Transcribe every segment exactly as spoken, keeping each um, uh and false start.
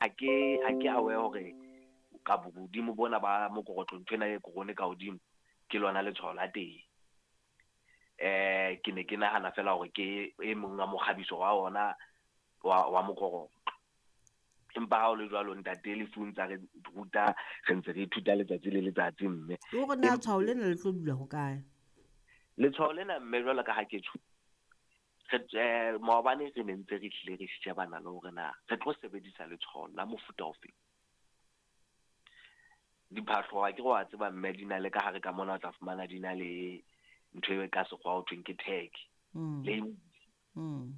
Ha ke ha ke aware hore ka bohodimo bona ba mokorotlo nthwena e korone ka hodimo ke lona letshwao la teng. Eh ke ne ke nahana fela hore ke e mong wa mokgabiso wa ona wa wa mokorotlo. Empa ha o le jwalo ntate Lefu ntsa re ruta, re ntse re ithuta letsatsi le letsatsi mme. Hore na tshwao lena le tlo dula hokae? Letshwao lena mme jwalo ka ha ke tjho, re eh maobane re ne ntse re hlile re shebana le hore na re tlo sebedisa letshwao la mofuta ofe. Diphahlo ha ke re wa tseba mme di na le ka hare ka mona o tla fumana di na le ntho e ka sekgowa ho thweng ke tag. Mm. Le Mm.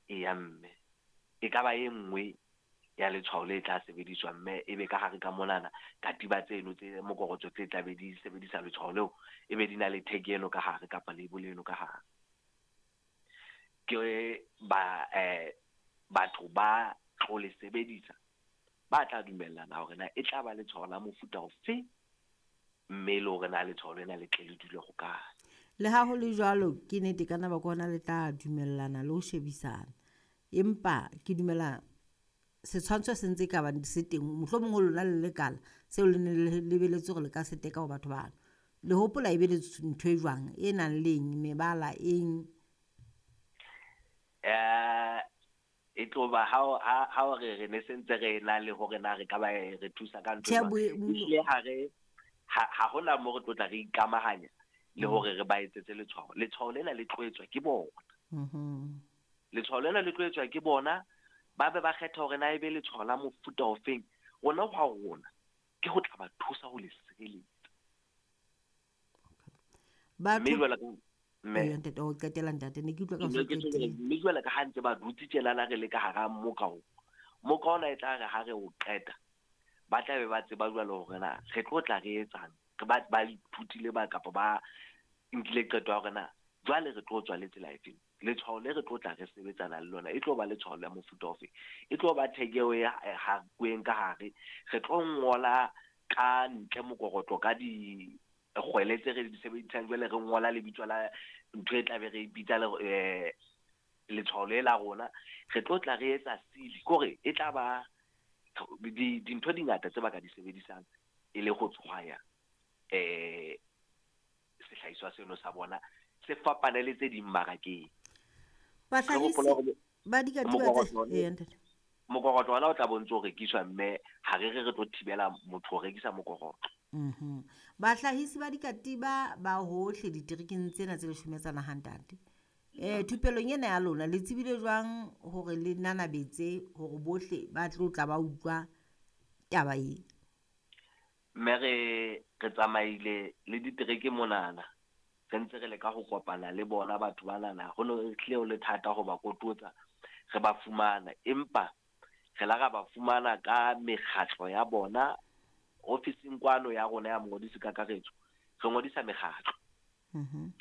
e ya mme. E ka ba e nngwe ya letshwao le tla sebediswa mme e be ka hare ka monana katiba tseno tse mokorotlo tse tla be di sebedisa letshwao leo, e be di na le tag eno ka hare kapa label eno ka hare. Ke ba eh batho ba tlo le sebedisa ba tla dumellana hore na e tla ba letshwao la mofuta ofe, mme le hore na letshwao lena le tle le dule hokae. Le ha ho le jwalo, ke nnete ka nako hona le tla dumellana le ho shebisana. Empa ke dumela setshwantsho se ntse ka ba se teng, mohlomong ho lona le lekala seo le ne le lebeletse hore le ka se teka ho batho bano. Le hopola e be le ntho e jwang e nang le eng, mebala eng? Eh e tlo ba ha ha ha re re ne sentse re na le hore na re ka ba re thusa ka ntho Tjhe, jwang. bo- Ehlile ha re ha ha hona mo re tlo tla re ikamahanya le Mm. hore re ba etsetse letshwao. Letshwao lena le tlo etswa ke bona. Mhm. Letshwao lena le tlo etswa ke bona, ba be ba kgetha hore na ebe letshwao la mofuta ofeng. Rona hwa rona ke ho tla ba thusa ho le sireletsa. Batho Mme jwale ka mme Eya, ntate, o qetela ntate, ne ke utlwa ka Ke ho ne ke tjho qetile. mme jwale ka ha ntse ba dutse tjenana re le ka hara moka o. Moka ona e tla re ha re o qeta, ba tla be ba tseba jwale hore na re tlo tla re etsang. Re ba ba ithutile ba kapa ba nkile qeto ya hore na jwale re tlo tswa le tsela efeng. Letshwao le re tlo tla re sebetsana le lona e tlo ba letshwao la mofuta ofe. E tlo ba tag eo e hakweng ka hare. Re tlo ngola ka ntle mokorotlo ka di kgwele tse re di sebedisang jwale re ngola lebitso la ntho e tla be re bitsa le eh letshwao le la rona. Re tlo tla re etsa seal, kore e tla ba di dintho di ngata tse ba ka di sebedisang e le ho tshwaya eh sehlahiswa seno sa bona se fapane le tse ding mmarakeng. Bahlahisi Re hopola hore ba dikatiba tse mokorotlo Eya, ntate. mokorotlo ona o tla bontse o rekiswa mme ha re re re tlo thibela motho ho rekisa mokorotlo. Mhm. Bahlahisi ba dikatiba ba hohle diterekeng tsena tse leshome tsa naha ntate. Eh thupelong ena ya lona le tsebile jwang hore le nanabetse hore bohle ba tlo tla ba utlwa taba e? Mme re re tsamaile le ditereke monana, re ntse re leka ho kopana le bona batho banana. Ho no hlile ho le thata ho ba kototsa re ba fumana, empa re la ra ba fumana ka mekgatlo ya bona ofising kwano ya rona ya mongodisi kakaretso. Re ngodisa mekgatlo. Mhm.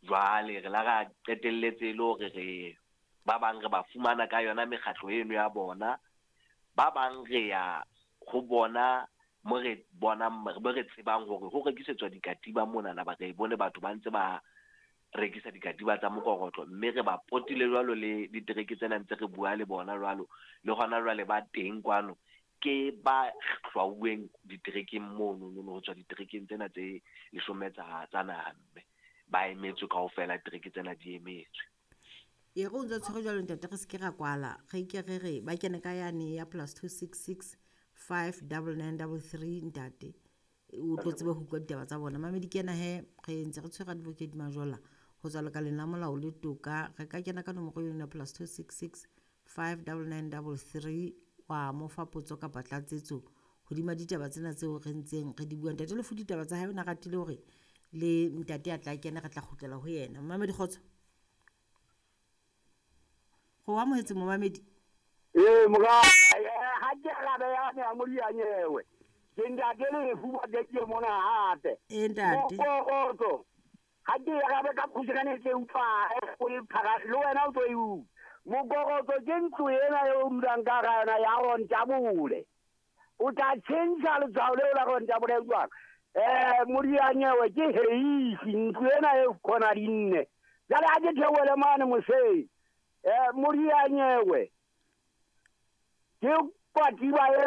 Jwale re la ra qetelletse e le hore re ba bang re ba fumana ka yona mekgatlo eno ya bona, ba bang re ya ho bona mo re bonang, mo re tsebang hore ho rekisetswa dikatiba monana, ba re bone batho ba ntse ba rekisa dikatiba tsa mokorotlo, mme re ba potile jwalo le ditereke tsena ntse re bua le bona jwalo, le hona jwale ba teng kwano ke ba hlwauweng diterekeng mono, no, no, ho tswa diterekeng tsena tse leshome tsa, tsa naha, mme ba emetswe kaofela, ditereke tsena di emetswe. E re o ntse o tshwere jwalo ntate, re se ke ra kwala, re ke re re ba kene ka yane ya plus two six six five double nine double three ntate, o tlo tsebe ho utlwa ditaba tsa bona. Mamedi ke ena he, re ntse re tshwere Advocate Majola ho tswa lekaleng la molao le toka. Re ka kena ka nomoro eno ya plus two six six five double nine double three wa mo fa potso kapa tlatsetso hodima ditaba tsena tseo re ntseng re di bua. Ntate Lefu ditaba tsa hae o na ratile hore le ntate a tla kena, re tla kgutlela ho yena. Momamedi kgotso. Go amohetse momamedi. Ee, mora, ha ke arabe ya ne a modianyewe. Ke ntate Lefu ba ke mona hape. Ee, ntate. Mokorotlo. Ha ke arabe ka khutshwane ke utlwa, o le phara le wena o tlo e utlwa. Mokorotlo ke ntlo ena eo o dulang ka hara yona ya Rontabole. O tla tjhentjha letshwao leo la Rontabole jwang? Eh, modianyewe ke heisi, ntlo ena e khona di nne. Jwale ha ke theohele mane moseng. Eh, modianyewe ke Kwatiba e